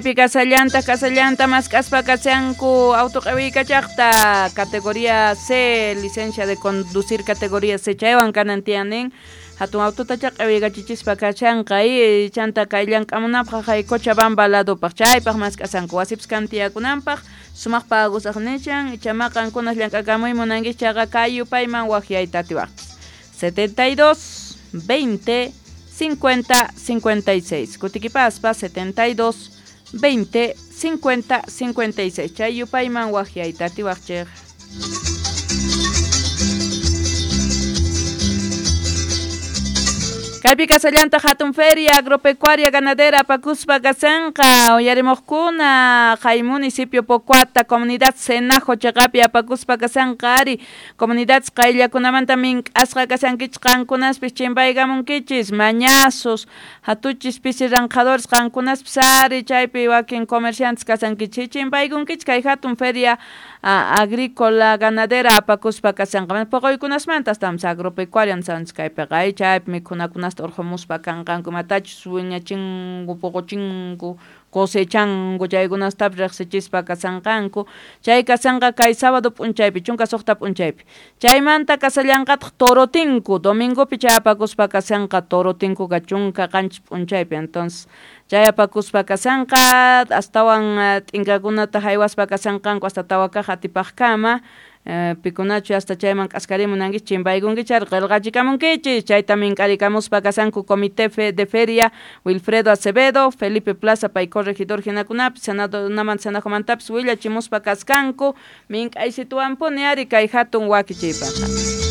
Kasallanta kasallanta mask'aspa kashanku auto q'iwiykachaqta categoría C, licencia de conducir categoría C chaywan kanan tiyan hatun autotacha q'iwiykachichispa kashanqa y chanta kay llank'amunapaq hay Cochabamba ladupaq chaypaq mask'asanku wasipis kan tiyakunanpaq sumaq pagusaq nishan ichama qankunas llank'akamuy munankichis chayqa kay yupayman waqyayta atiwaqchis 72 20 50 56 kutikipaspa 72 20 50 56 chay yupayman waqyayta atiwaqchik. Kaypi kasallanta hatun feria agropecuaria ganadera apakuspa kasanqa uyarimuqkuna kay municipio Pocoata comunidad Senajo chaqapi apakuspa kasanqa ari comunidad qayllakunamanta mink'asqa kasankichis qankunaspis chimpaykamunkichis mañazos hatuchis pisi ranqadores qankunaspis ari chaypi wakin comerciantes kasankichis chimpaykunkichis kay hatun feria agrícola ganadera apakuspa kasanqa poqoykunasmanta estamos agropecuaria nisqanchis kaypiqa chaypi mikhunakunasta urqumuspa kanqanku imatachus wiñachinku puquchinku cosechanku chaykunastapis riqsichispa kasanqanku chay kasanqa kay sábado p'unchaypi 16 p'unchaypi chaymanta kasallanqataq torotinku domingopi chay apakuspa kasanqa torotinkuqa 17 p'unchaypi entonces chay apakuspa kasanqa astawan t'inkakunata haywaspa kasanqanku hasta tawakaq atipaqkama pikunachu hasta chayman k'askarimunankichis chimpaykunkichis ari qillqachikamunkichis chayta mink'arikamuspa kasanku comité de feria Wilfredo Acevedo, Felipe Plaza pay corregidor hinakunapis senadonamanta senajomantapis willachimuspa kaskanku mink'aysituwanpuni ari kay hatun wakichiypaq.